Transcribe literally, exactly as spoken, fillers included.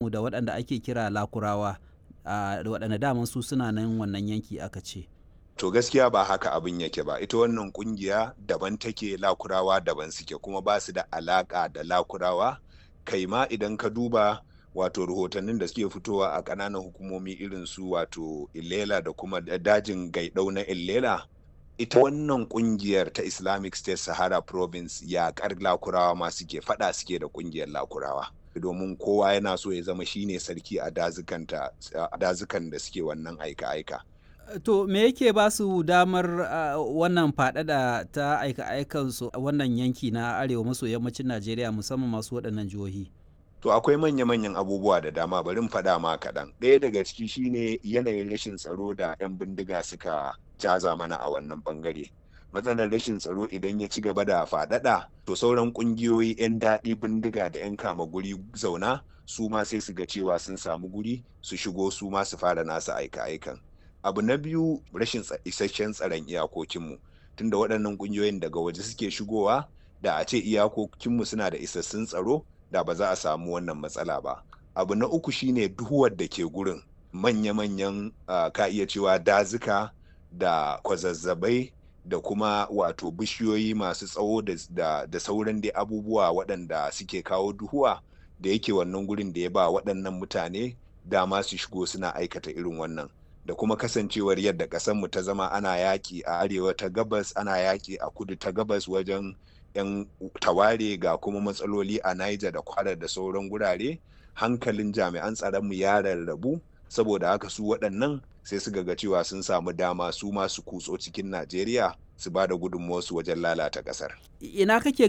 Da waɗanda ake kira Lakurawa, a waɗanda daman su suna nan wannan yanki aka ce. To, gaskiya ba haka abin yake ba. Ita wannan kungiya daban take, Lakurawa daban suke, kuma ba su da alaka da Lakurawa. Kai ma idan ka duba wato rahotannin da suke fitowa a ƙananan hukumomi irin su wato Ilela da kuma dajin Gaidau na Ilela, ita wannan kungiyar ta Islamic State Sahara Province yaƙar Lakurawa ma suke, faɗa suke da kungiyar Lakurawa. Domin kowa yana so ya zama shine sarki a dazukan da suke wannan aika-aika. To, me yake ba su damar uh, wannan faɗaɗa ta aika-aikansu a wannan yanki na arewa maso yammacin Najeriya, musamman masu waɗannan jihohi? To, akwai manya-manyan abubuwa da dama, bari mu faɗa ma kaɗan. Ɗaya daga ciki shine yanayin rashin tsaro da 'yan bindiga suka caza mana a wannan ɓangare. Matsalar rashin tsaro idan ya ci gaba da faɗaɗa, to sauran ƙungiyoyi 'yan daɗi bindiga da 'yan kama guri zauna su ma sai su ga cewa sun samu guri su shigo, su ma su fara nasu aika-aikan. Abu na biyu, rashin isasshen tsaron iyakokinmu, tunda waɗannan ƙungiyoyin daga waje suke shigowa. Da a ce iyakokinmu suna da isassun tsaro, da ba za a samu wannan matsala ba. Abu na uku shine duhuwar da ke gurin manya-manyan uh, ka iya cewa dazuka da kwazazzabai da kuma wato bishiyoyi masu tsawo da, da, da sauran dai abubuwa waɗanda suke kawo duhuwa da yake wannan gurin, da ya ba waɗannan mutane dama su shigo suna aikata irin wannan. Da kuma kasancewar yadda ƙasarmu ta zama, ana yaƙi a arewa ta gabas, ana yaƙi a kudu ta gabas wajen 'yan taware, ga kuma matsaloli a Niger da Kwara da sauran gurare, hankalin jami'an tsaronmu ya rarrabu. Saboda haka su waɗannan sai su ga cewa sun samu dama su ma su kutso cikin Najeriya su ba da gudunmuwarsu wajen lalata ƙasar. Ina kake